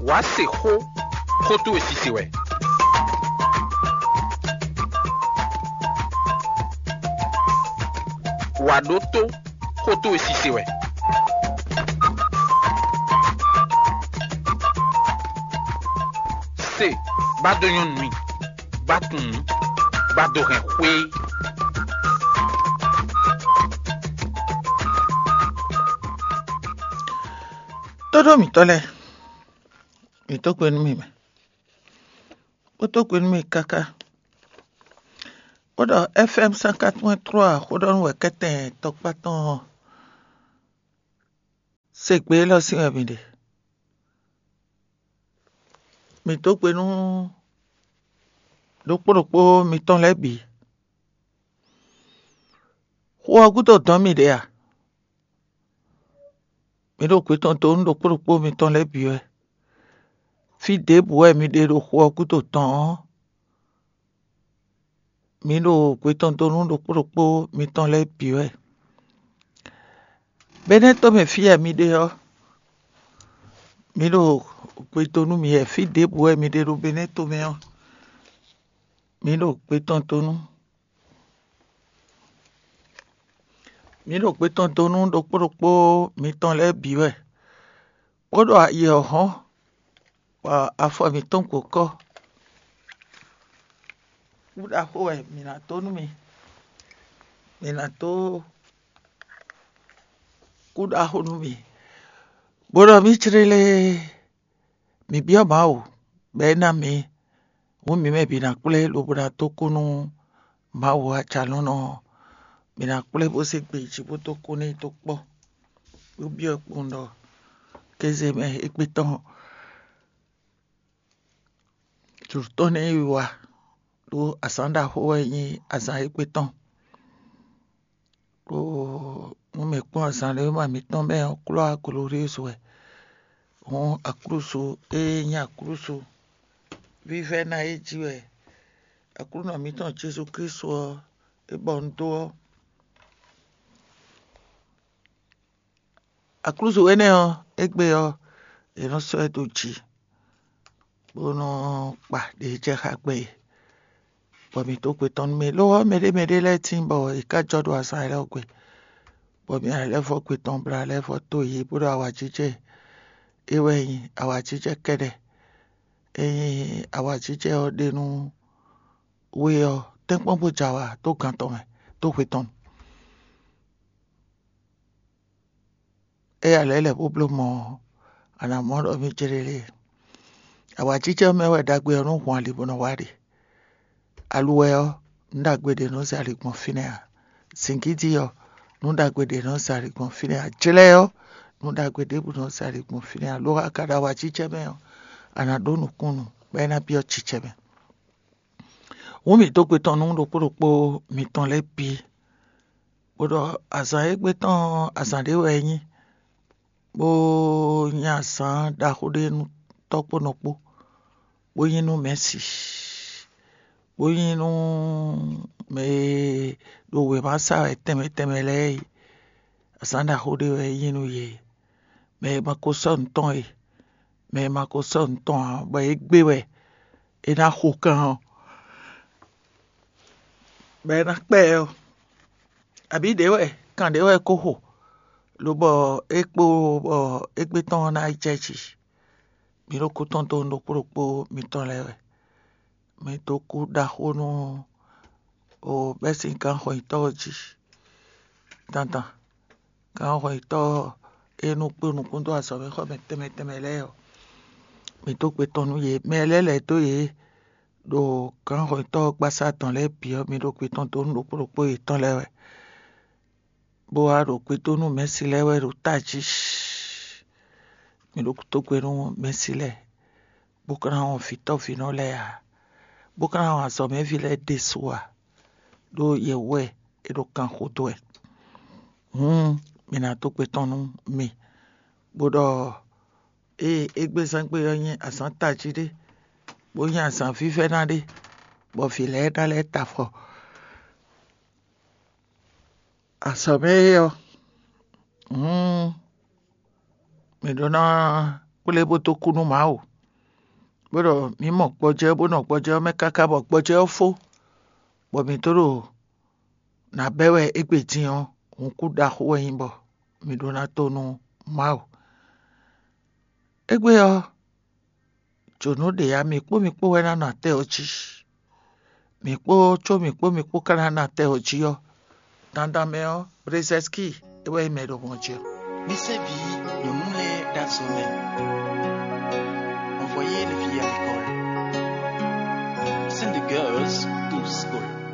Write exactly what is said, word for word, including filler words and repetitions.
Wǎ se xó, xó towe sise wɛ. Wǎ ɖótó, xó towe sise wɛ. Se, bá dó nyɔ́ nú mì, bá tunwun nǔ, bá dó hɛn xwé. Tóɖó mǐtɔn lɛ́ɛ, mǐ tó gbe nú mì mɛ, bó tó gbe nú mì káká. Bó ɖɔ F M cent quatre-vingt-trois xó ɖɔ nú wɛ kɛ́tɛn tɔkpá tɔn ɔ́, se gbe élɔ́ sín wɛ mǐ ɖe. Mǐ dó gbe nú ɖokpó ɖokpó mitɔn lɛ́ɛ bǐ. Xó ɔ́ gúdo dɔn mì ɖě a? Mǐ ɖo gbe tɔn dó nú ɖokpó ɖokpó mitɔn lɛ́ɛ bǐ wɛ. Fí ɖěbǔ wɛ mi ɖe ɖo xó ɔ́ gúdo tɔn ɔ́, mǐ ɖo gbe tɔn dó nú ɖokpó ɖokpó mitɔn lɛ́ɛ bǐ wɛ. Benɛ́ tomɛ fí e mi ɖe ɔ́, mǐ ɖo gbe dó nú mi wɛ. Fí ɖěbǔ wɛ mi ɖe ɖo Benɛ́ tomɛ ɔ́, mǐ ɖo gbe tɔn dó nú mǐ ɖo gbe tɔn dó nú ɖokpó ɖokpó mitɔn lɛ́ɛ bǐ wɛ, bó ɖo ayi ɔ́ hɔ́n, bɔ afɔ mǐtɔn gǒ kɔ. Kú ɖaxó wɛ mǐ ná dó nú mi, mǐ ná dó kú ɖaxó nú mi, bó ɖɔ mǐ clélé. Mǐ byɔ́ Mawu, bɔ é ná mǐ, hǔn mǐ mɛ bǐ ná kplé lobo ná dó kú nú Mawu Ajalɔ̌nlɔn ɔ́. Mǐ ná kplé bó zé gbe jí bó dó kú n'i dó kpɔ́, bó byɔ́ kpowun ɖɔ kéze mɛ égbé tɔn jlǒ tɔn ní yi wa, ɖó azǎn ɖaxó wɛ nyí azǎn égbé tɔn. Ɖó nú mǐ kpɔ́n azǎn ɖé ma mǐtɔn mɛ ɔ́, klɔ́ aglǒɖézú wɛ. Hǔn aklúzu e nyí aklúzu vívɛ́ná e jí wɛ Aklúnɔ mǐtɔn Jezu Klísu ɔ́, é bɔ un dó ɔ́, aklúzu énɛ́ ɔ́, égbé ɔ́, è nɔ sɔ́ ɛ dó jǐ, bó nɔ́ kpa ɖě jɛ xá gbɛ é, bɔ mǐ dó gbe tɔn nú mì. Lo ɔ́, mɛɖé mɛɖé lɛ́ɛ tíin bɔ è ká jɔ ɖo azǎn élɔ́ gbe, bɔ mǐ lɛ́ vɔ́ gbe tɔn bla lɛ́ vɔ́ tó yě bó ɖo awǎjijɛ é wɛ nyí awǎjijɛ kɛ́ɖɛ́. Ényí awǎjijɛ ɔ́ ɖe nú we ɔ́, tɛ́nkpɔ́n bó jɛ awǎ dó gan tɔn mɛ, dó hwe tɔn. Éyɛ́ lɛ̌ lɛ̌ bó bló mɔ̌ ɔ́, a nǎ mɔ ɖɔ mì jlé lé. Awǎjijɛ ɔ́ mɛ wɛ ɖagbe ɔ́ nɔ́ hun ali bó nɔ́ wá ɖe. Aluwɛ ɔ́, nǔ ɖagbe ɖě nɔ́ zɛ ali gbɔn fínɛ́ ǎ. Zǐngídi ɔ́, nǔ ɖagbe ɖě nɔ́ zɛ ali gbɔn fínɛ́ ǎ. Jlɛ́ ɔ́, nǔ ɖagbe ɖěbǔ nɔ́ zɛ ali gbɔn fínɛ́ ǎ. Lo a ka ɖo awǎjijɛ mɛ ɔ́, a nǎ ɖó nǔkúnnú, bɔ é ná byɔ́ jijɛ mɛ. Hǔn mǐ dó gbe tɔn nú ɖokpó ɖokpó mitɔn lɛ́ɛ bǐ, bó ɖɔ azǎn e gbé tɔn ɔ́, azǎn ɖé wɛ é nyí, bó nyí azǎn ɖaxó ɖé nú tɔ́ kpó nɔ kpó, bó nyí nú mɛ̌si, bó nyí nú mɛ e ɖo wěma sa wɛ tɛnmɛ tɛnmɛ lɛ́ɛ é. Azǎn ɖaxó ɖé wɛ é nyí nú yě. Mɛ e ma ko sɔ́ nǔ tɔn e, mɛ e ma ko sɔ́ nǔ tɔn ǎ, bɔ é gbé wɛ é ná xo kan ɔ́, bɔ é ná kpɛ ɛ ɔ́, abǐ ɖě wɛ kan ɖě wɛ é ko xo, lobɔ é kpo bɔ égbé tɔn ɔ́ ná yi jɛ jǐ. Mǐ ɖo kú tɔn dó nú ɖokpó ɖokpó mitɔn lɛ́ɛ wɛ. Mǐ dó kú ɖaxó nú o bɛ́ sín gǎnxɔnyitɔ́ ɔ́ jí dandan. Gǎnxɔnyitɔ́ e nɔ kpé nukún dó azɔ̌mɛxɔmɛ tɛnmɛ tɛnmɛ lɛ́ɛ ɔ́, mǐ dó gbe tɔn nú yě. Mɛ lɛ́ɛ lɛ̌ dó yě ɖo gǎnxɔnyitɔ́ gbasá tɔn lɛ́ɛ bǐ ɔ́, mǐ ɖo gbe tɔn dó nú ɖokpó ɖokpó yětɔn lɛ́ɛ wɛ, bó wá ɖo gbe dó nú mɛ̌si lɛ́ɛ wɛ ɖo tají. Mǐ ɖo tó gbe nú mɛ̌si lɛ́ɛ, bó ka ná wɔn vǐtɔ́vǐnɔ lɛ́ɛ ǎ, bó ka ná wɔn azɔ̌mɛví lɛ́ɛ ɖésú ǎ, ɖó yě wɛ é ɖo kan xo dó wɛ. Hǔn mǐ ná dó gbe tɔn nú mi, bó ɖɔ ée égbézán gbe ɔ́ nyí azǎn tají ɖé, bó nyí azǎn vívɛ́ná ɖé, bɔ vǐ lɛ́ɛ ná lɛ́ ta afɔ. Azɔ̌ mɛ é ɔ́, hǔn mǐ ɖó ná kplé bó dó kú nú Mawu. bó ɖɔ mǐ mɔ gbɔjɛ́ bó nɔ gbɔjɛ́ ɔ́ mɛ káká bɔ gbɔjɛ́ ɔ́ fó, bɔ mǐ tó ɖo nǎ bɛ́ wɛ égbé din ɔ́, hǔnkú ɖaxó wɛ nyí bɔ mǐ ɖó ná tó nú Mawu. Égbé ɔ́, jǒnú ɖě ǎ, mǐ kpó mǐ kpó wɛ ná nɔ atɛ ɔ́ jí. Mǐ kpó có mǐ kpó mǐ kpó ka ná nɔ atɛ ɔ́ jí ɔ́, dandan mɛ ɔ́, Brezɛski é wɛ nyí mɛ e ɖo hɔn jí ɔ́. Mi sɛ́ vǐ nyɔ̌nu lɛ́ɛ ɖó azɔ̌ mɛ. Envoyez les filles à l'école. Send the girls to school.